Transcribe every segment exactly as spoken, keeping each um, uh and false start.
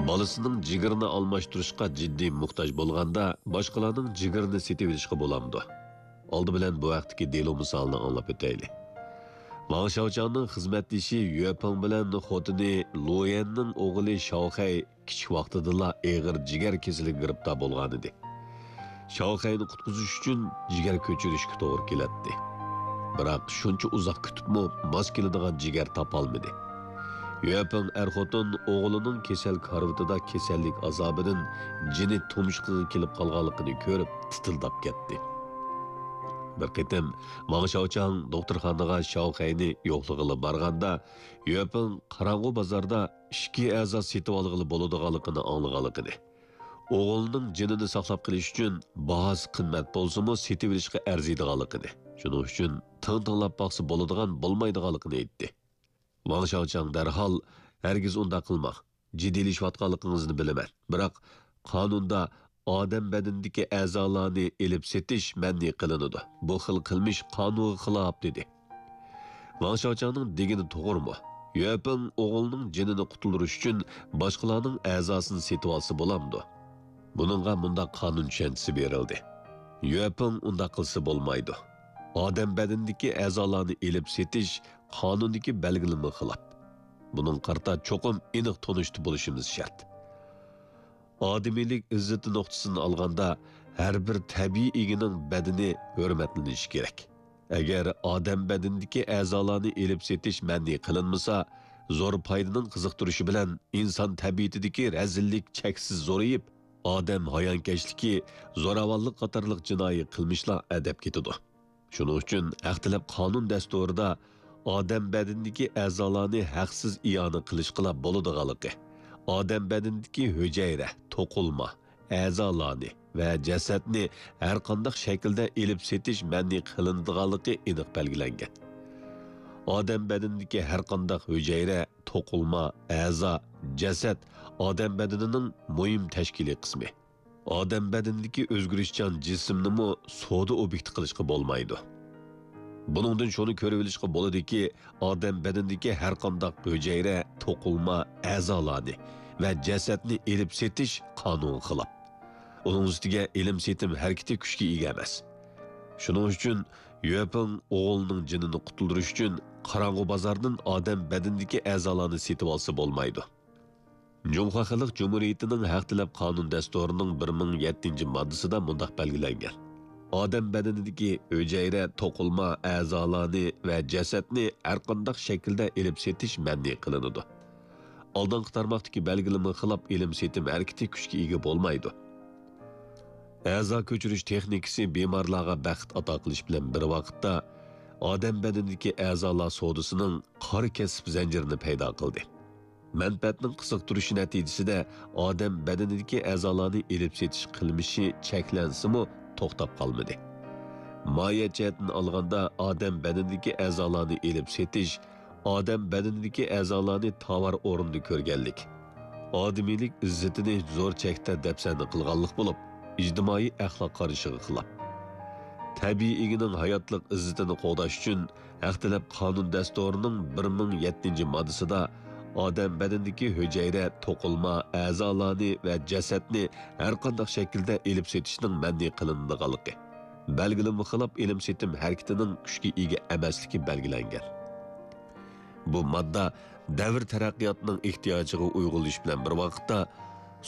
بالىسىنىڭ جىگىرىنى ئالماشتۇرۇشقا جىددىي موھتاج بولغاندا، باشقىلارنىڭ جىگىرىنى سېتىۋېلىشقا بولامدۇ؟ ئالدى بىلەن بۇ ھەقتىكى دېلو مىسالىنى ئاڭلاپ ئۆتەيلى. ۋاڭ شاۋچاڭنىڭ خىزمەتدىشى يۈەپېڭ بىلەن خوتۇنى لۇيەننىڭ ئوغلى شاۋخەي كىچىك ۋاقتىدىلا ئېغىر جىگەر كېسىلىگە گىرىپتار بولغانىدى. شاۋخەينى قۇتقۇزۇش ئۈچۈن جىگەر كۆچۈرۈشكە توغرا كېلەتتى. بىراق شۇنچە ئۇزاق كۈتۈپمۇ ماس كېلىدىغان جىگەر تاپالمىدى. يۈەپېڭ ئەر-خوتۇن ئوغلىنىڭ كېسەل كارىۋىتىدا كېسەللىك ئازابىدىن جېنى تۇمشۇقىغا كېلىپ قالغانلىقىنى كۆرۈپ تىتىلداپ كەتتى. بىر قېتىم ۋاڭ شاۋچاڭ دوختۇرخانىغا شاۋخەينى يوقلىغىلى بارغاندا، يۈەپېڭ قاراڭغۇ بازاردا ئىككى ئەزا سېتىۋالغىلى بولىدىغانلىقىنى ئاڭلىغانلىقىنى، ئوغلىنىڭ جېنىنى ساقلاپ قېلىش ئۈچۈن باھاسى قىممەت بولسىمۇ سېتىۋېلىشقا ئەرزىيدىغانلىقىنى، شۇنىڭ ئۈچۈن تىڭ تىڭلاپ باقسا بولىدىغان بولمايدىغانلىقىنى ئېيتتى. ۋاڭ شاۋچاڭ دەرھال، «ھەرگىز ئۇنداق قىلماڭ، جىددىيلىشىۋاتقانلىقىڭىزنى بىلىمەن، بىراق قانۇندا ئادەم بەدىنىدىكى ئەزالارنى ئېلىپ سېتىش مەنئى قىلىنىدۇ، بۇ خىل قىلمىش قانۇنغا خىلاپ» دېدى. ۋاڭ شاۋچاڭنىڭ دېگىنى توغرىمۇ؟ يۈەپېڭ ئوغلىنىڭ جېنىنى قۇتۇلدۇرۇش ئۈچۈن باشقىلارنىڭ ئەزاسىنى سېتىۋالسا بولامدۇ؟ بۇنىڭغا مۇنداق قانۇن چۈشەنچىسى بېرىلدى. يۈەپېڭ ئۇنداق قىلسا بولمايدۇ. ئادەم بەدىنىدىكى ئەزالارنى ئېلىپ سېتىش قانۇندىكى بەلگىلىمىگە خىلاپ. بۇنىڭغا قارىتا چوقۇم ئېنىق تونۇشتا بولۇشىمىز شەرت. ئادىمىيلىك ئىززىتى نۇقتىسىدىن ئالغاندا، ھەر بىر تەبىئىي ئىگىنىڭ بەدىنى ھۆرمەتلىنىشى كېرەك. ئەگەر ئادەم بەدىنىدىكى ئەزالارنى ئېلىپ سېتىش مەنئى قىلىنمىسا، زور پايدىنىڭ قىزىقتۇرۇشى بىلەن ئىنسان تەبىئىتىدىكى رەزىللىك چەكسىز زورىيىپ، ئادەم ھايانكەشلىكى، زوراۋانلىق قاتارلىق جىنايى قىلمىشلار ئەدەپ كېتىدۇ. شۇنىڭ ئۈچۈن ھەق تەلەپ قانۇن دەستۇرىدا ئادەم بەدىنىدىكى ئەزالارنى ھەقسىز ئىئانە قىلىشقىلا بولىدىغانلىقى، ئادەم بەدىنىدىكى ھۈجەيرە، توقۇلما، ئەزالارنى ۋە جەسەتنى ھەرقانداق شەكىلدە ئېلىپ سېتىش مەنئى قىلىنىدىغانلىقى ئېنىق بەلگىلەنگەن. ئادەم بەدىنىدىكى ھەرقانداق ھۈجەيرە، توقۇلما، ئەزا، جەسەت ئادەم بەدىنىنىڭ مۇھىم تەشكىلىي قىسمى. ئادەم بەدىنىدىكى ئۆزگىرىشچان جىسىمنىمۇ سودا ئوبيېكتى قىلىشقا بولمايدۇ. بۇنىڭدىن شۇنى كۆرۈۋېلىشقا بولىدۇكى، ئادەم بەدىنىدىكى ھەرقانداق ھۈجەيرە، توقۇلما، ئەزالارنى ۋە جەسەتنى ئېلىپ سېتىش قانۇنغا خىلاپ. ئۇنىڭ ئۈستىگە ئېلىم سېتىم ھەرىكىتى كۈچكە ئىگە ئەمەس. شۇنىڭ ئۈچۈن يۈەپېڭ ئوغلىنىڭ جېنىنى قۇتۇلدۇرۇش ئۈچۈن قاراڭغۇ بازاردىن ئادەم بەدىنىدىكى ئەزالارنى سېتىۋالسا بولمايدۇ. جۇڭخۇا خەلق جۇمھۇرىيىتىنىڭ ھەق تەلەپ قانۇن دەستۇرىنىڭ بىر مىڭ يەتتىنچى ماددىسىدا مۇنداق بەلگىلەنگەن: ئادەم بەدىنىدىكى ھۈجەيرە، توقۇلما، ئەزالارنى ۋە جەسەتنى ھەرقانداق شەكىلدە ئېلىپ سېتىش مەنئى قىلىنىدۇ. ئالدىنقى تارماقتىكى بەلگىلىمىگە خىلاپ ئېلىم سېتىم ھەرىكىتى كۈچكە ئىگە بولمايدۇ. ئەزا كۆچۈرۈش تېخنىكىسى بىمارلارغا بەخت ئاتا قىلىش بىلەن بىر ۋاقىتتا، ئادەم بەدىنىدىكى ئەزالار سودىسىنىڭ قارا كەسىپ زەنجىرىنى پەيدا قىلدى. مەنپەئەتنىڭ قىزىقتۇرۇشى نەتىجىسىدە ئادەم بەدىنىدىكى ئەزالارنى ئېلىپ سېتىش قىلمىشى چەكلەنسىمۇ توختاپ قالمىدى. ماھىيەت جەھەتتىن ئالغاندا، ئادەم بەدىنىدىكى ئەزالارنى ئېلىپ سېتىش، ئادەم بەدىنىدىكى ئەزالارنى تاۋار ئورنىدا كۆرگەنلىك، ئادىمىيلىك ئىززىتىنى زور چەكتە دەپسەندە قىلغانلىق بولۇپ، ئىجتىمائىي ئەخلاق قارىشىغا خىلاپ. تەبىئىي ئىگىنىڭ ھاياتلىق ئىززىتىنى قوغداش ئۈچۈن، ھەق تەلەپ قانۇن دەستۇرىنىڭ بىر مىڭ يەتتىنچى ماددىسىدا ئادەم بەدىنىدىكى ھۈجەيرە، توقۇلما، ئەزالارنى ۋە جەسەتنى ھەرقانداق شەكىلدە ئېلىپ سېتىشنىڭ مەنئى قىلىنىدىغانلىقى، بەلگىلىمىگە خىلاپ ئېلىم سېتىم ھەرىكىتىنىڭ كۈچكە ئىگە ئەمەسلىكى بەلگىلەنگەن. بۇ ماددا دەۋر تەرەققىياتىنىڭ ئېھتىياجىغا ئۇيغۇنلىشىش بىلەن بىر ۋاقىتتا،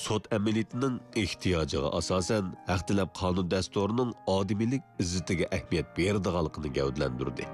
سوت ئەمەلىيىتىنىڭ ئېھتىياجىغا ئاساسەن، ھەق تەلەپ قانۇن دەستۇرىنىڭ ئادىمىيلىك ئىززىتىگە ئەھمىيەت بېرىدىغانلىقىنى گەۋدىلەندۈردى.